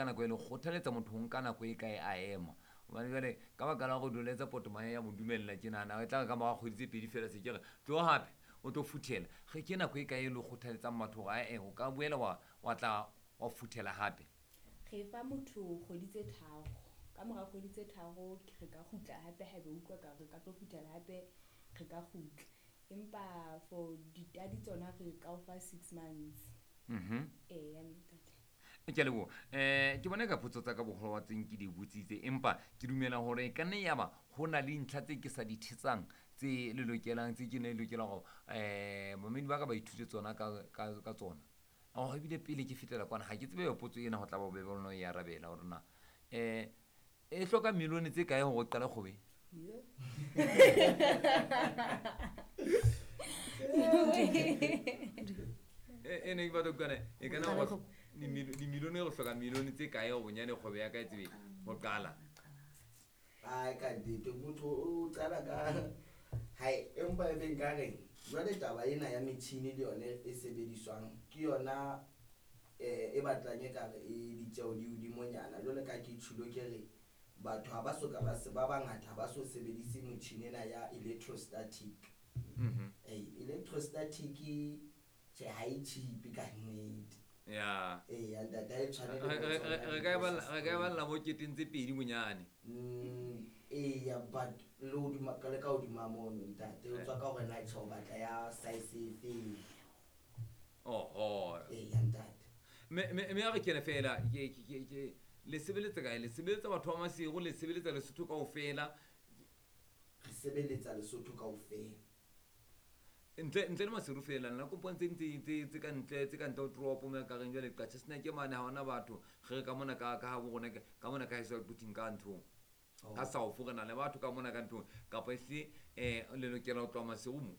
nka nako e le kgothaletsa motho ho nka nako e kae a ema? Gobane jale ka baka la go doletsa potomae ya mo dumelela, ke nagana e tla re ka morago kgwedi tse 2 fela se ke re tlo gape o tlo futhela. Ge ke nako e kae e le kgothaletsang batho gore ae o ka boela wa tla wa futhela gape? Re fa motho kgwedi tse 3. Ka mora kgwedi tse 3 re ka kgutla hape, haebe utlwa ka re ka tlo futhela hape, re ka kgutla. Empa for ditadi tsona re ka o fa 6 months. Eya, ntate. Ke a leboha. Ke bone ka potso tsa ka boholo wa tseng ke di botsitse, empa ke dumela hore e ka nne yaba ho na le ntlha tse ke sa di thetsang tse le lokelang, tse ke ne lokelang hore mamedi ba ka ba ithute tsona ka tsona. Oh, ebile pele ke fetela kwana, ha ke tsebe potso ena ho tla ba bobebe ho e arabela hore na e hloka milione tse kae hore o qale kgwebo? Yo. E ne ke batla ho utlwa e kana hore dimilione, go hloka milione tse kae go bonyane kgwebo ya ka e tsebe ho qala? Ai, ka nnete motho o qala ka hai, empa e be nka reng jwale taba ena ya metjhini le yone e sebediswang ke yona e batlang e kare e ditjeho di hodimonyana. Jwale ka ke tjhulo, ke re batho ha ba so ka ba se ba bangata ha ba so sebedise motjhini ena ya electrostatic. Electrostatic, tjhe, ha e cheap ka nnete. Eya ntate, ha e tshwane le bo tsona Re ka e balla mo keteng tse 2 bonyane. Eya, but le hodima le ka hodima mono, ntate, o tswa ka hore na tjhe o batla ya size e feng. Oho. Eya ntate. Me a re kene fela ke le sebeletsa kae? Le sebeletsa batho ba Maseru, le sebeletsa Lesotho kaofela? Re sebeletsa Lesotho kaofela. Ntle le Maseru fela, nna kompone tse ding tse ka ntle ho toropo mo ka reng jwale Qacha sena ke mane ha hona batho. Re re ka mona ka habo rona, ka mona ka heso Quthing, ka nthong ka South, re na le batho ka mona ka nthong, kapa ehlile le lokela ho tloha Maseru mo?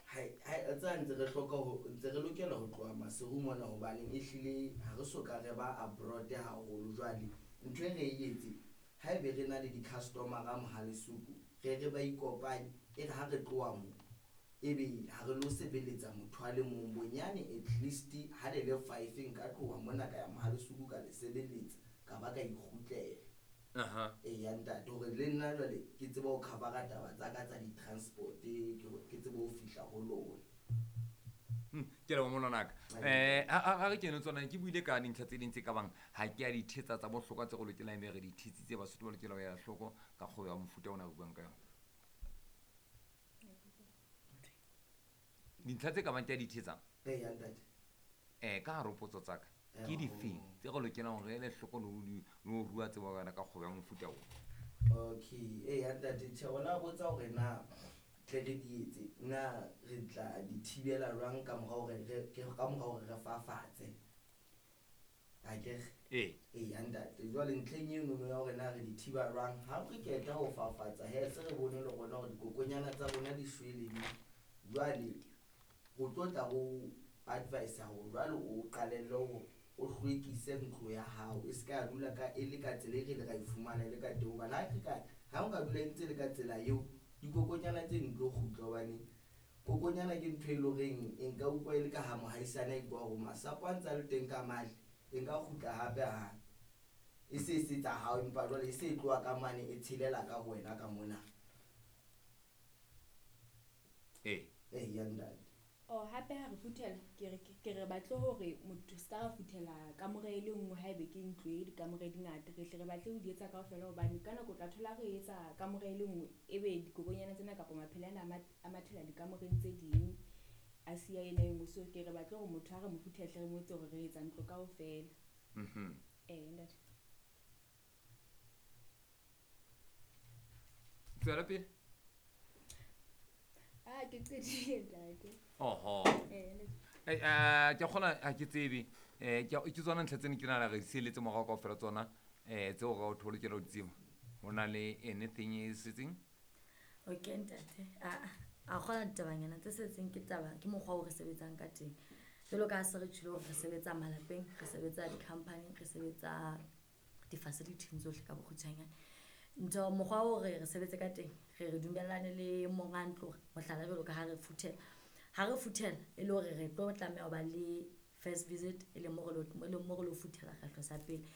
Hai hai, tsa ntse re hloka ho ntse re lokela ho tloha Maseru mona, hobaneng ehlile ha re so ka re ba abroad haholo. Jwale ntho e re e etse, haebe re na le di-customer-a Mohalesuku, re ba ikopanye, e re ha re tloha mo, ebe ha re lo sebeletsa motho a le mong bonyane, at least ha le le five, nka tloha mona ka ya Mohalesuku, ka le sebeletsa, ka ba ka ikgutlela. Eya ntate, hore le nna jwale ke tsebe ho cover-a taba tsa ka tsa di-transport, ke tsebe ho fihla ho lona. Ke leboha monwanaka. Ha re kene tsona, ke buile ka dintlha tse ding tse ka bang ha ke a di thetsa tsa bohlokwa tse re lokelang ebe re di thetsitse, Basotho ba lokela ho ela hloko ka kgwebo ya mofuta ona re buang ka yona. Dintlha tse ka bang ke a di thetsang Eya ntate. Ka hare ho potso tsa ka, ke difeng tse re lokelang hore re ele hloko le ho rua tsebo ka yona ka kgwebo ya mofuta ona? Okay, eya ntate, tjhe, ona botsa hore na tle re di etse, na re tla di thibela jwang ka mora hore re fafatse, akere? Ee. Eya ntate, jwale ntlheng enono ya hore na re di thiba jwang ha re qeta ho fafatsa, he se re bone le rona hore dikokonyana tsa rona di shwele di, jwale ho tlo tla ho advise hore jwale o qalelle hore o hlwekise ntlo ya hao, e se ka dula ka e le ka tsela e re ile ra e fumana e le ka teng, hobane ha o ka dula e ntse le ka tsela eo, dikokonyana tse di tlo kgutla, hobane kokonyana ke ntho e leng horeng e nka utlwa e le ka ha mohaisane a ikutlwa hore masapo a ntse a le teng ka mane, e nka kgutla hape hape e se e se tsa hao, empa jwale e se e tloha ka mane e tshelela ka ho wena ka mona. Eya ntate. Oh, hape ha re futhela, ke re batle hore motho ska ra futhela kamore e le nngwe. Haebe ke ntlo e dikamore di ngata, re hle re batle ho di etsa kaofela, hobane ka nako o tla thola re etsa kamore e le nngwe, ebe dikokonyana tsena kapa maphele ana a mathela dikamoreng tse ding, a siya ena e nngwe. So ke re batle hore motho ha re mo futhela, hle re mo etse hore re etsa ntlo kaofela. Ee ntate. Tswela pele. Ah, ke qetile, ntate. Oho. Ee ntate. Ke kgona ha ke tsebe ke tsona ntlha tsene ke nahana re di sieletse morao kaofela tsona tseo re o lokela ho di tseba. Ho na le anything e setseng? Okay ntate, a kgona ditabanyana tse setseng ke taba ke mokgwa o re sebetsang ka teng, jwalo ka ha se re tjhilo hore re sebetsa malapeng, re sebetsa di-company, re sebetsa di-facility tsohle ka bokgutshwanyane. Ntho mokgwa o re sebetse ka teng, re dumellane le monga ntlo. Mohlala, jwalo ka ha re futhela, ha re futhela e le hore re tlo tlameha ho ba le first visit, e leng mo re lo futhela kgetlo sa pele.